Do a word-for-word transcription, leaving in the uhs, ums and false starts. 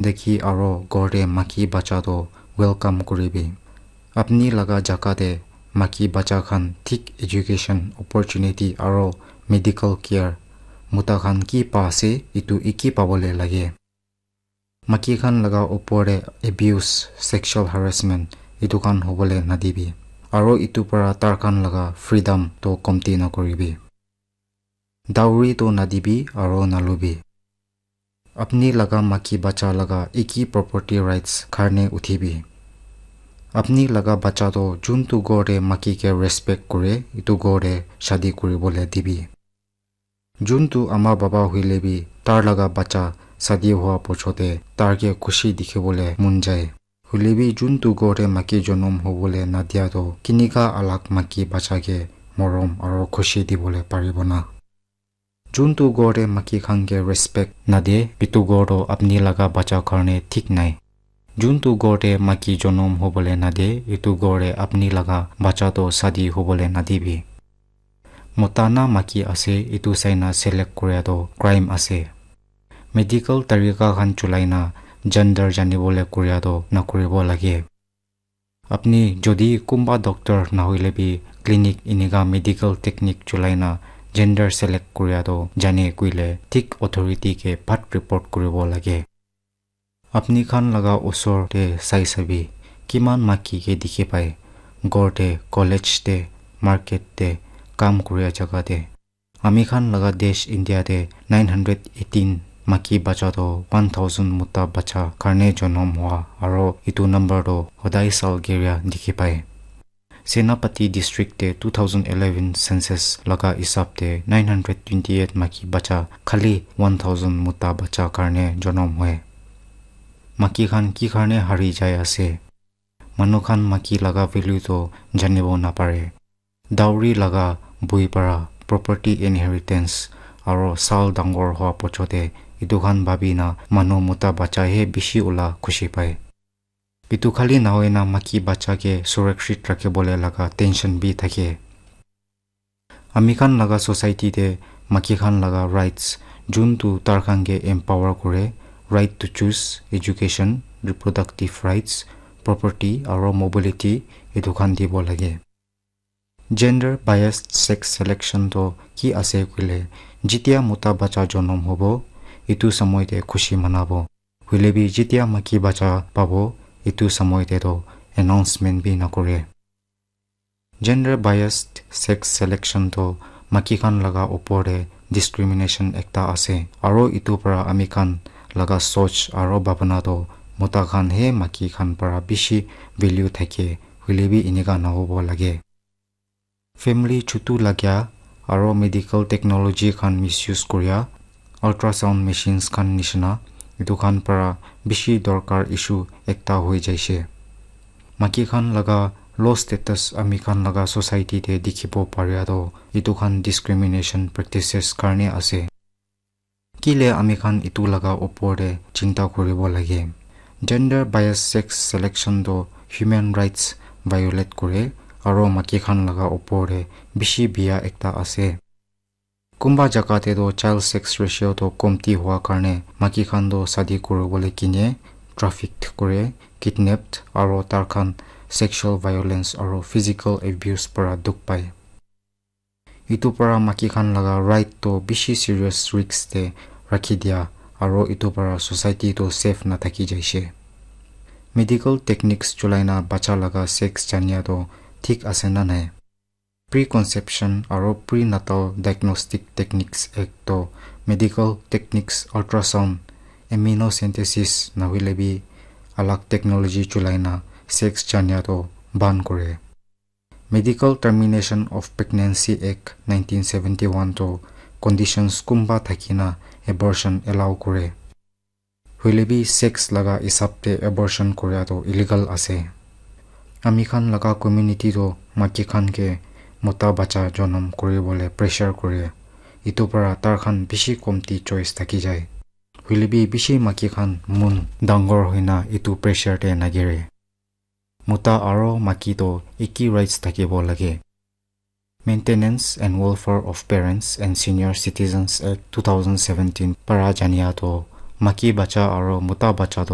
dekhi aro ghor te maki bacha toh welcome kuribi. Apni laga jaga te maki bacha khan thik education opportunity aro medical care mota khan ki pa ase, etu eki pabole lage. Maki khan laga opor te abuse, sexual harassment etu khan hobole nadibi. Aro etu para tar khan laga freedom toh komti nakuribi. Dowry toh nadibi aro nalubi. Apni laga maki bacha laga eki property rights karne uthibi. Apni laga bacha toh juntu ghor te maki ke respect kure, etu ghor te shadi kuribole dibi. Juntu ama baba hoile bi tar laga bacha shadi hua pochote tar ke khushi dikhibole mon jai. Hoile bi juntu ghor te maki jonom hobole nadia toh kinika alag maki bacha ke morom aro khushi dibole paribo na. Juntu ghor te maki khan ke respect nade, etu ghor toh apni laga bacha karne thik nai. Juntu ghor te maki jonom hobole nade, etu ghor te apni laga bacha toh shadi hobole nadibi. Mota na maki ase, etu saina select kuria toh crime ase. Medical tarika khan chulai na gender janibole kuria toh nakuribo lage. Apni jodi kunba doctor nahoile bi clinic enika medical technique chulai na gender select kuria toh jane koile thik authority ke bhat report kuribo lage. Apni khan laga usor te sai sabi, kiman maki ke dikhi pai, ghor te, college te, market te, kam kuria jaga te. Ami khan laga desh India te nine hundred eighteen maki bacha toh one thousand mota bacha karne jonom hua, aro etu number toh hodai sal giria dikhi pai. Senapati district te two thousand eleven census laga hisab te nine hundred twenty-eight maki bacha khali one thousand mota bacha karne jonom hue. Maki khan ki karne hari jai ase? Manu khan maki laga value toh janibo napare. Dowry laga bui para property inheritance aro sal dangor hua pochote etu khan bhabi na manu mota bacha he bishi ula khushi pai. Etu khali nahoi na maki bacha ke surakshit rakhibole laga tension bi thake. Ami khan laga society te maki khan laga rights juntu tar khan ke empower kure, right to choose, education, reproductive rights, property aro mobility etu khan dibo lage. Gender biased sex selection toh ki ase koile, jitia mota bacha jonom hobo, etu samoi te khushi manabo. Hoile bi jitia maki bacha pabo, etu samoi te toh announcement bi nakore. Gender biased sex selection toh maki khan laga opor te discrimination ekta ase, aro etu para ami khan laga soch aro bhabana toh mota khan he maki khan para bishi value thake, hoile bi enika nahobo lage. Family chutu lagya aro medical technology khan misuse kuria, ultrasound machines khan nishina, etu khan para bishi dorkar issue ekta hoi jaise. Maki khan laga low status ami khan laga society te dikhibo paria toh etu khan discrimination practices karne ase. Kile ami khan etu laga opor te chinta kuribo lage? Gender bias sex selection toh human rights violate kore aro maki khan laga opor te bishi biya ekta ase. Kunba jaga te toh child sex ratio toh komti hua karne maki khan toh shadi kuribole kine, trafficked kure, kidnapped aro tar khan sexual violence aro physical abuse para dukh pai. Etu para maki khan laga right toh bishi serious risk te rakhi dia, aro etu para society toh safe nathaki jaise. Medical techniques chulai na bacha laga sex jania toh thik ase na nai? Preconception aro prenatal diagnostic techniques act toh medical techniques, ultrasound, amniocentesis nahoile bi alag technology chulai na sex jania toh ban kore. Medical Termination of Pregnancy Act nineteen seventy-one toh conditions kunba thaki na abortion allow kore. Hoile bi sex laga hisab te abortion kuria toh illegal ase. Ami khan laga community toh maki khan ke mota bacha jonom kuribole pressure kure. Etu para tar khan bishi komti choice thaki jai. Hoile bi bishi maki khan mon dangor hoina etu pressure te nagire. Mota aro maki toh eki rights thakibo lage. Maintenance and Welfare of Parents and Senior Citizens Act two thousand seventeen para jania toh Maiki bacha aro mota bacha tu